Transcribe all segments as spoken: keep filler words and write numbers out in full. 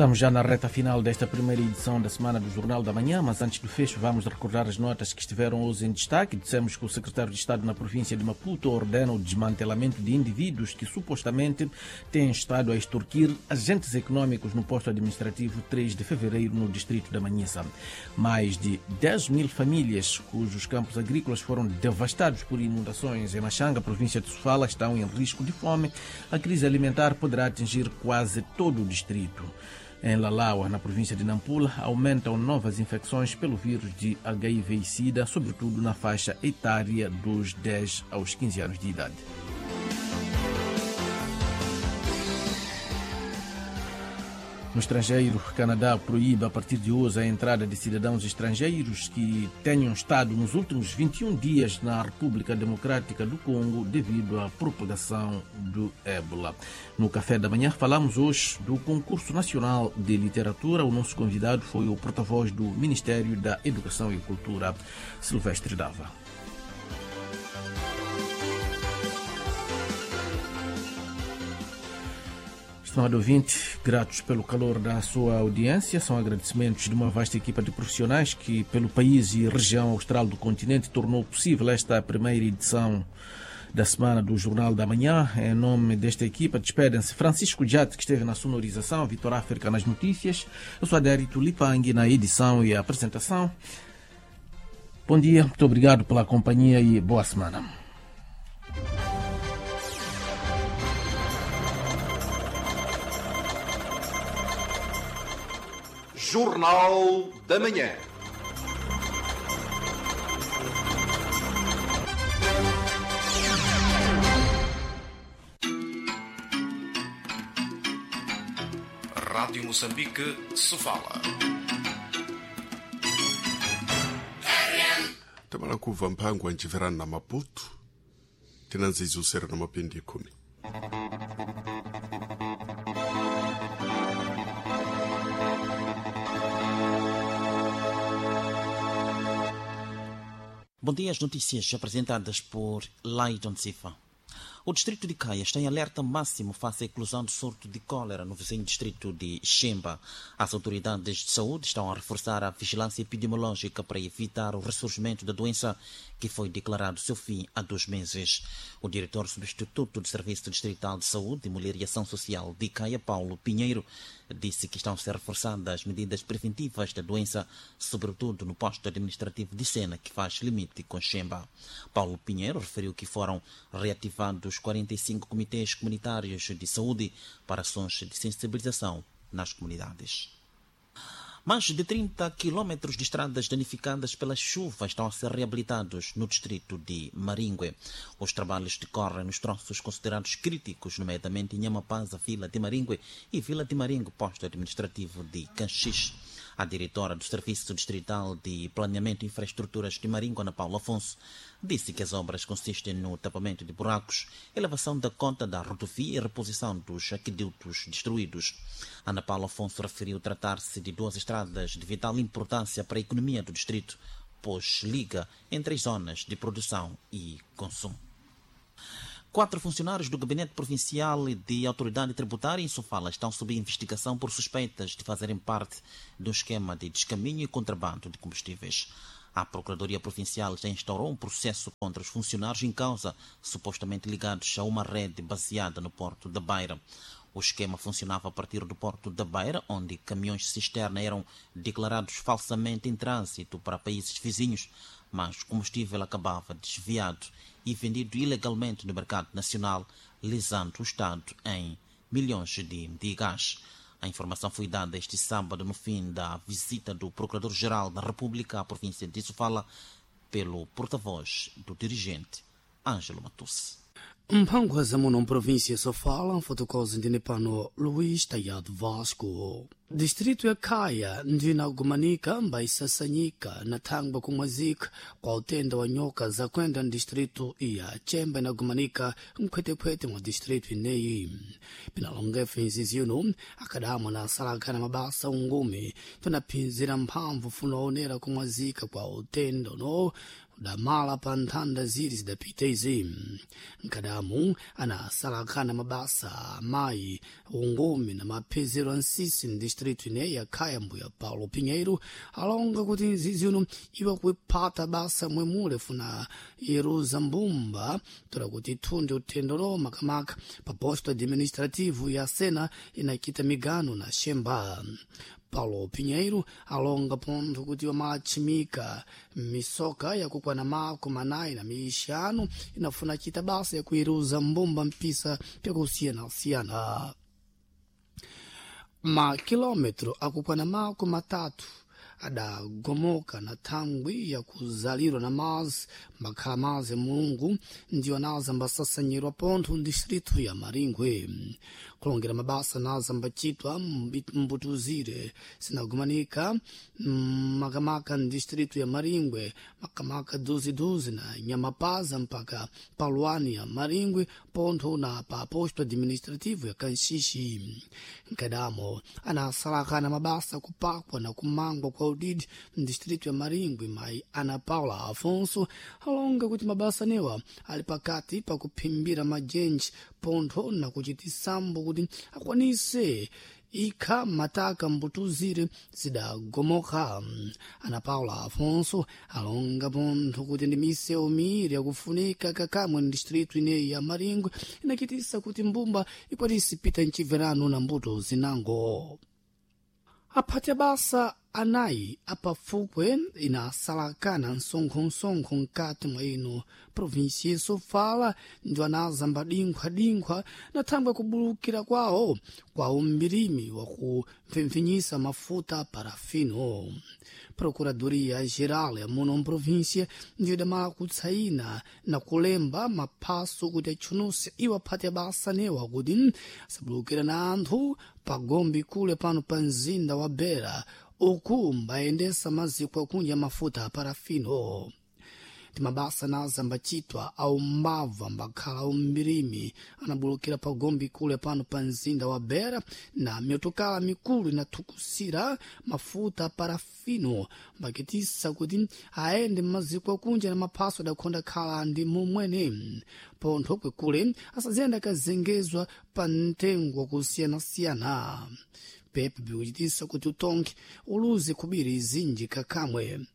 Estamos já na reta final desta primeira edição da semana do Jornal da Manhã, mas antes do fecho vamos recordar as notas que estiveram hoje em destaque. Dissemos que o secretário de Estado na província de Maputo ordena o desmantelamento de indivíduos que supostamente têm estado a extorquir agentes econômicos no posto administrativo três de fevereiro no distrito da Manhissa. Mais de dez mil famílias cujos campos agrícolas foram devastados por inundações em Machanga, província de Sofala, estão em risco de fome. A crise alimentar poderá atingir quase todo o distrito. Em Lalaua, na província de Nampula, aumentam novas infecções pelo vírus de H I V e SIDA, sobretudo na faixa etária dos dez aos quinze anos de idade. No estrangeiro, Canadá proíbe a partir de hoje a entrada de cidadãos estrangeiros que tenham estado nos últimos vinte e um dias na República Democrática do Congo devido à propagação do ébola. No Café da Manhã falamos hoje do Concurso Nacional de Literatura. O nosso convidado foi o porta-voz do Ministério da Educação e Cultura, Silvestre Dava. Estimado ouvinte, gratos pelo calor da sua audiência, são agradecimentos de uma vasta equipa de profissionais que, pelo país e região austral do continente, tornou possível esta primeira edição da semana do Jornal da Manhã. Em nome desta equipa, despedem-se Francisco Djate, que esteve na sonorização, Vitor África nas notícias. Eu sou Adérito Lipangui na edição e apresentação. Bom dia, muito obrigado pela companhia e boa semana. Jornal da Manhã. Rádio Moçambique, Sofala. Tamala kuva mphango anchiverana na Maputo, tinanzidzusera na mapindi khumi. Bom dia, as notícias apresentadas por Laidon Sifa. O distrito de Caia está em alerta máximo face à eclosão do surto de cólera no vizinho distrito de Xemba. As autoridades de saúde estão a reforçar a vigilância epidemiológica para evitar o ressurgimento da doença, que foi declarado seu fim há dois meses. O diretor substituto do Serviço Distrital de Saúde, Mulher e Ação Social de Caia, Paulo Pinheiro, disse que estão a ser reforçadas as medidas preventivas da doença, sobretudo no posto administrativo de Sena, que faz limite com Xemba. Paulo Pinheiro referiu que foram reativados quarenta e cinco comitês comunitários de saúde para ações de sensibilização nas comunidades. Mais de trinta quilômetros de estradas danificadas pela chuva estão a ser reabilitados no distrito de Maringue. Os trabalhos decorrem nos troços considerados críticos, nomeadamente em Nhamapaza, Vila de Maringue e Vila de Maringue, posto administrativo de Canchis. A diretora do Serviço Distrital de Planeamento e Infraestruturas de Maringue, Ana Paula Afonso, disse que as obras consistem no tapamento de buracos, elevação da conta da rodovia e reposição dos aquedutos destruídos. Ana Paula Afonso referiu tratar-se de duas estradas de vital importância para a economia do distrito, pois liga entre as zonas de produção e consumo. Quatro funcionários do Gabinete Provincial de Autoridade Tributária em Sofala estão sob investigação por suspeitas de fazerem parte de um esquema de descaminho e contrabando de combustíveis. A Procuradoria Provincial já instaurou um processo contra os funcionários em causa, supostamente ligados a uma rede baseada no Porto da Beira. O esquema funcionava a partir do Porto da Beira, onde caminhões-cisterna eram declarados falsamente em trânsito para países vizinhos, mas o combustível acabava desviado e vendido ilegalmente no mercado nacional, lesando o Estado em milhões de meticais. A informação foi dada este sábado no fim da visita do Procurador-Geral da República à província de Sofala pelo porta-voz do dirigente Ângelo Matusse. Mphango zamuno mprovíncia Sofala mfotokozi ndine pano Luís Tayado Vasco. Distrito ya Caia ndina kumanika mbaisasanyika na thangwa kumwazika kwa utenda wa nyoka zakwenda ndistrito ya Chemba na kumanika mkhwetekhwete mwa distrito ineyi. Pinalongefu inzizi yuno akadamwa na asalakana mabasa ungumi tunaphinzira mphamvu funaonera kumwazika kwa utenda no Udamala pa nthanda ziri zidapita izi. Nkadamu anasalakana mabasa amayi ungumi na maphezero a nsisi m'distritu ineyi ya Khaya mbuya Paulo Pinheiro alonga kuti nzizi uno iwa kuiphata basa mwemule funa yeruza mbumba tola kuti ithunde uthendo makamaka pa posto administrativo ya Sena inachita migano na Xemba. Paulo Pinheiro alonga pontho kuti wamachimika misoka yakukwana makumi anayi na mixanu inafuna chita basa yakuiruza mbumba mpisa pyakusiyanasiyana. Makilometro akukwana makumi matatu adagomoka na thangwi yakuzalirwa na mazi mbakhala mazi Mulungu ndiwo anaza mbasasanyirwa pontho mdistritu ya Maringwe. Kulongera mabasa naza mbachitwa mbutuzire sinagumanika makamaka mdistritu ya Maringwe, makamaka duziduzi na Nyamapaza mpaka Paluani ya Maringwe pontho na pa posto administrativo ya Kanxixi. Nkadamo anasalakana mabasa kupakwa na kumangwa kwa udidi mdistritu ya Maringwe mayi Ana Paula Afonso alonga kuti mabasa newa ali pakati pakuphimbira majenji pontho na kuchitisambo kuti akwanise ikha mataka mbutuzire zidagomoka. Ana Paula Afonso alonga pontho kuti ndi misewu miiri yakufunika kakamwe mdistritu ineyi ya Maringwe inachitisa kuti mbumba ikwanise pita mchibverano na mbuto zinango. Aphati basa anayi apafukwe inasalakana msonkho-msonkho mkati mwa ino provinsia Sofala ndiwo anazamba dinkhwadinkhwa na thangwi kubulukira kwawo kwa umbirimi wakumpfempfinyisa mafuta parafino. Procuradoria Geral ya muno mprovinsia ndiyo idamala kutsaina na kulemba maphaso kuti atchunuse iwo aphati abasa newa kuti asabulukira na anthu pagombe kule pano pa mzinda wa Beira uku mbayendesa maziko akunja mafuta a parafino. Ndi mabasa naza ambacitwa aumbava ambakhala aumbirimi anabulukira pagombe kule pano pa mzinda wa Beira na mitokala mikulu inathukusira mafuta a parafino mbakitisa kuti aende mmaziko akunja na maphaso adakhonda khala ndi momwene pontho kwekule asaziyenda akazengezwa pa mtengo wakusiyanasiyana. Pepe bikuchitisa kuti utonke uluze kubiri zinji kakamwe.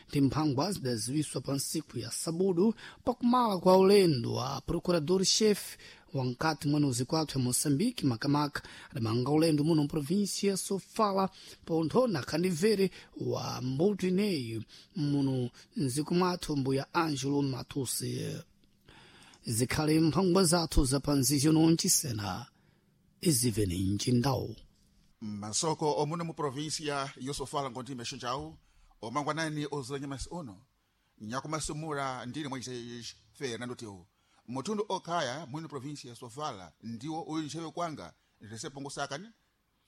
Ndi mphangwa zidaziwiswa pa ntsiku ya sabudu pakumala kwa ulendo wa procurador-chefe wankati mwene uzikwathu ya Moçambique makamaka adamanga ulendo muno mprovinsia ya Sofala pontho na khandibvere wa mbuto ineyi muno mdziko mwathu mbuya Angelo Matusi. Zikhale mphangwa zathu zapanzizyo noncisena izivene mcindawu. Masoko omuno mu provinsia yosofala ngonti xinjawu omangwanani ozulanya masi uno nyakumasumula ndine mwaise Fernando Teu mutundu okhaya mwino provinsia ya Sofala ndiwo uli nchewe kwanga resepongosakani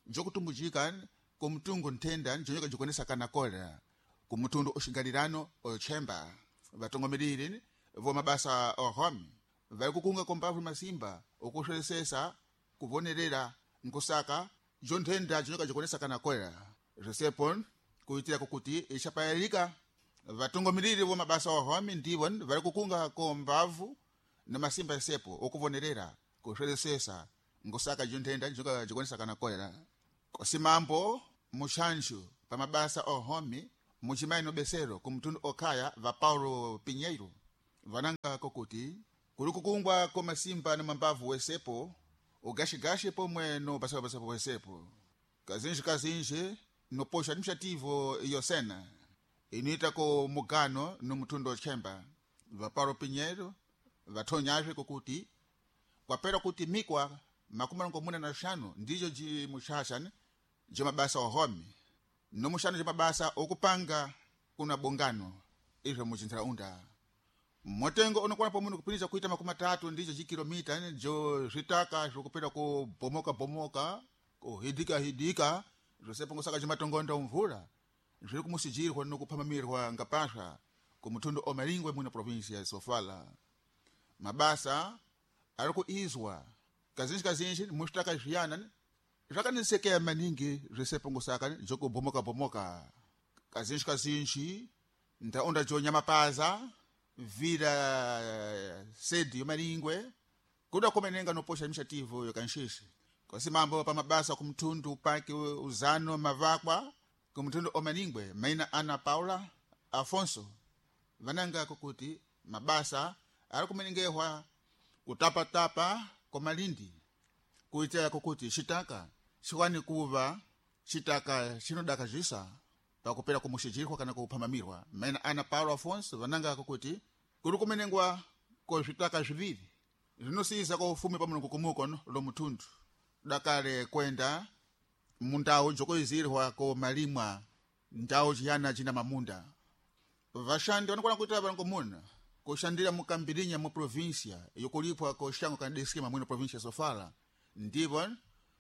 njokutumbujika kumtungu nthenda njonyoka jikonesakana kolera kumutundu oxigalirano ochemba vatongomeleli vomabasa ohomi vali kukunga kombavu masimba okuswelesesa kuvonerera nkusaka njo nthenda jinyoka jikonesakana kolera resepon kuitira kukuti ixapayalika vatungomiriri vo mabasa ohomi ndivo vari kukunga kombavu na masimba esepo okuvonerera kuswelesesa nkusaka jinthenda jinyoka jikonesakana kolera kosimambo muxanxu pa mabasa ohomi mucimayi nobesero kumtundu okhaya va Paulo Pinheiro vananga kokuti kuli kukungwa komasimba na mambavu wesepo ugaxigaxi pomwe no basabasapo wesepo kazinji kazinji no poxo administrativo yosena inuita ko mugano no mutundu ochemba va Paulo Pinheiro vathonyazve kokuti kwapera kuti mikwa makumi marongomuna na xanu ndijo jimuxaxa jo mabasa ohomi no muxano jo mabasa okupanga kuna bongano izvo mucintaraunda motengo unokwana pomwe kupinisa kuita makumi atatu ndicho chikilomita jo zvitaka zvokupera kubomoka bomoka kuhidika hidika zvosepongosaka cimatongonda mvula zviri kumusijirwa nokupamamirwa ngapasha kumutundu omaringwe muno provinsia ya Sofala. Mabasa ari kuizwa kazinji kazinji muxitaka zviyana zvakanisekea maningi zvisepongosaka jokubomoka bomoka kazinji kazinji ndaunda jo nyamapaza Vila sede yomalingwe kuda kumenenga noposha administrativo yokanxixi kosi mambo pa mabasa kumthundu pake uzano mavakwa kumthundu omalingwe maina Ana Paula Afonso vananga kukuti mabasa ari kumenengehwa kutapatapa kwa malindi kuitira kukuti xitaka xiwani kuva xitaka xinodakazisa pakupera kumuxijirwa kana kuphambamirwa. Maina Ana Paulo Afonso vananga kukuti kuri kumenengwa ko zvitaka zviviri zvinosiisa ko ufumi pa mulungu kumukono lo muthundu dakale kwenda mundau jokoizirwa ko malimwa ndau chiyana china mamunda. Vashandi vanokona kuita varongomuna kushandira mukambirinya mu província yokulipwa ko xango kana diskema mwino província Sofala ndipo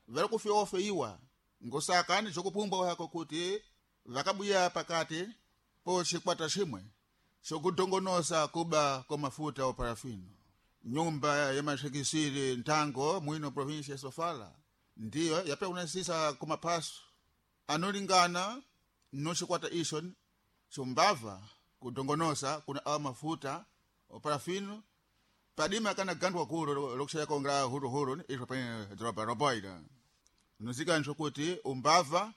vari kufeofeiwa ngosakani jokupumbwa hako kuti vakabuya pakati po chikwata chimwe chokudongonosa kuba kwa mafuta o parafino. Nyumba ya mashekisiri ntango mwino província Sofala ndiyo yapea kunasisa kumaphaso anolingana no chikwata icho chumbava kudongonosa kuna awa mafuta o parafino padima kana gandwa kulu lokushaya kongra huruhuru izvo pene doroba roboida nozika kuti umbava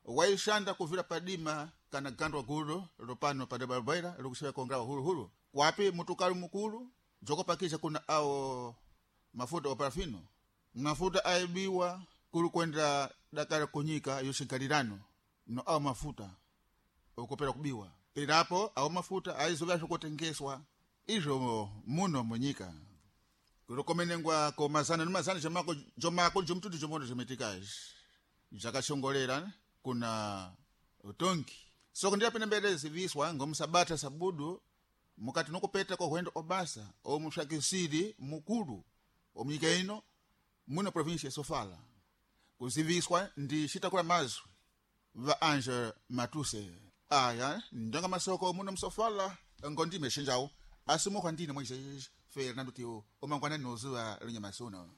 waishanda kuvira padima kana gandwa gulu lopano padeba roboida lokushaya kongra huruhuru kwapi mutukali mukulu jokopakisha kuna awo mafuta o parafino mafuta aibiwa kuli kwenda dakala kunyika yoxigalirano no awo mafuta okopera kubiwa perapo awo mafuta aizovya kutengeswa izvo muno munyika kulokomenengwa ko mazana ni mazana jomako jomako jomtutu jomoto jometikaji jakashongolera kuna utongi soko ndiye pene mbele ziviswa ngomusabata sabudu mukati nokupeta kwa hwendo obasa omushakisiri mukulu omunyika ino muno província ya Sofala kuziviswa ndi xitakula mazwi va Ange Matuse. Aya ndonga masoko muno msofala ngondime xinjawu asimukhwa ndine Moisés Fernando Tio omangwana nozuva lunyamasuno.